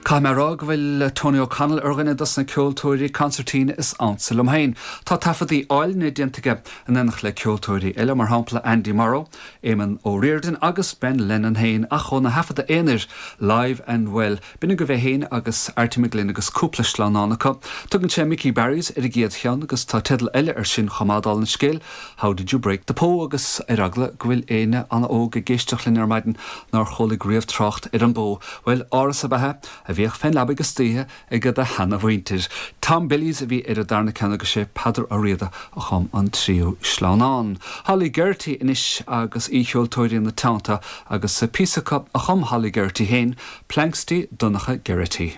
Caithfidh mé a rá go bhfuil Tony O'Connell ar dhuine dos na ceoltóirí consairtín is ansa liom féin. Tá taifeadtaí áilne déanta aige in éineacht le ceoltóirí eile, mar shampla Andy Morrow, Éamon O'Riordan agus Ben Lennon féin, ach óna thaifeadadh aonair, Live and Well, b'in agaibh é féin agus Arty McGlynn agus cúpla sleamhnán acu. Tugann sé Mickey Barry's ar an gcéad cheann agus tá teideal eile air sin chomh maith, dála an scéil, How Did You Break the Poe agus ar eagla go bhfuil éinne an-óg ag éisteacht linn ar maidin nár chualaigh riamh trácht ar an bpó, bhuel, áras ab ea é a bhíodh fén leabaidh istoíche ag do sheana-mhuintir. Tom Billy's a bhí ar an darna ceann agus sé Peadar Ó Riada a chum an tríú sleamhnán. Holly Geraghty anois agus aoicheoltóirí ina teannta agus píosa acu a chum Holly Geraghty féin, Planxty Donncha Geraghty.